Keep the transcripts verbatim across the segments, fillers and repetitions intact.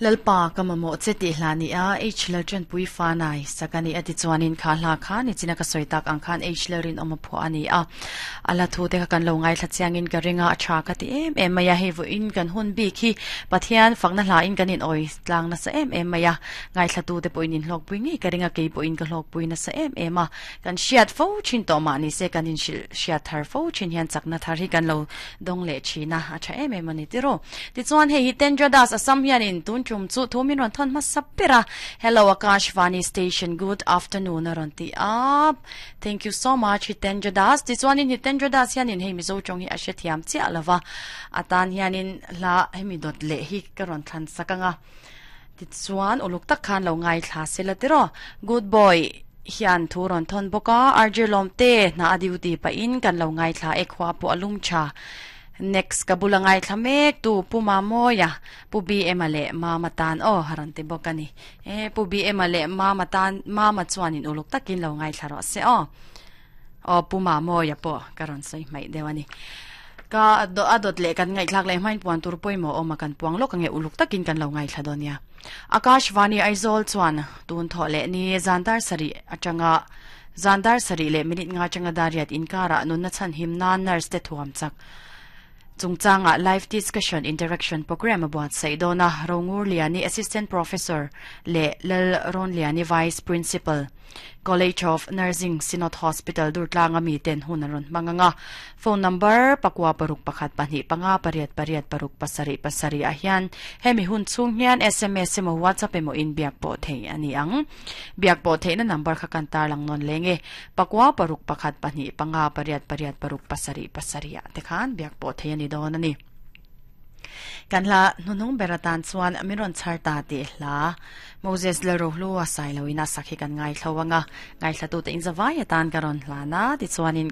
Lalpa ka mamawh che tih hla ni a, H Lalṭan pui fanai sak a ni a ti chuanin kha hla kha nichina ka sawi tak ang khan H Lalrin awm a phuah a ni a. A la thu te kha kan lo ngaithla chiangin ka ring a, a tha ka ti em em mai a, hei vawiin kan hun bik hi Pathian fakna hla in kan in awi tlang nasa em em mai a, ngaithla tu te pawhin in hlawkpui ngei ka ring a, kei pawhin ka hlawkpui nasa em em a, kan hriat fo thin tawh mah ni se kan in hrilh hriat thar fo thin hian chakna thar hi kan lo dawng leh thin a, a tha em em a ni tiraw. Tichuan hei hi Tendra Das Assam hianin tun tum chu thu min rawn thawn hmasa ber a, Hello Akashvani station good afternoon a rawn ti a, thank you so much Hitendra Das. Tichuanin Hitendra Das hianin hei Mizo tawng hi a hrethiam chiah lova, a tan hianin hla hemi dawt leh hi ka rawn thlan sak ang a, tichuan uluk tak khan lo ngaithla sela tiraw. Good boy hian thu rawn thawn bawk a, R J Lawmte hna a duty pahin kan lo ngaithla e khua pawh a lum tha. Next ka bula ngaithla mek tu Pu Mamawia, Pu B M-a leh Mama tan aw a rawn ti bawk a ni. E Pu B M-a leh Mama tan Mama chuanin uluk takin lo ngaithla rawh se aw. Aw Pu Mamawia pawh ka rawn sawi hmaih deuh a ni. Ka a dawt leh kan ngaihthlak leh hmain puan tur pawimawh awm a kan puang lawk ange uluk takin kan lo ngaithla dawn nia. Akashvani Aizawl chuan tun thawh leh ni zandar sarih atanga zandar sarih leh minute nga atanga dariat inkarah nunna chhan him nan nurse te thuam chak chungchanga live discussion interaction program a buatsaih dawn a, Rongur Liani Assistant Professor leh Lal Ron Liani Vice Principal College of Nursing Synod Hospital Durtlanga mi ten hun an rawn hmang anga, phone number pakua paruk pakhat pahnih panga pariat pariat paruk pasarih pasarih ah hian hemi hun chhung hian S M S emaw WhatsApp emaw in biak pawh thei a ni ang. Biak pawh theihna number kha kan tarlang nawn leng e, pakua paruk pakhat pahnih panga pariat pariat paruk pasarih pasarih ah te khan biak pawh thei a ni dawn a ni. Kan hla hnunung ber atan chuan min rawn chhar ta tih hla Moses Lalrohlu a sai loin a sak hi kan ngaithlo anga, ngaithlatu te inzawai atan ka rawn hlana tichuanin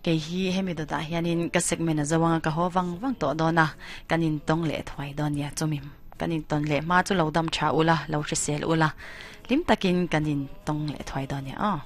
kei hi hemi dawtah hianin ka segment a zo anga ka haw vang vang tawh dawn a, kan intawng leh thuai dawn nia chumi kan intawn leh hma chu lo dam tha ula lo hrisel ula lim takin kan intawng leh thuai dawn nia aw.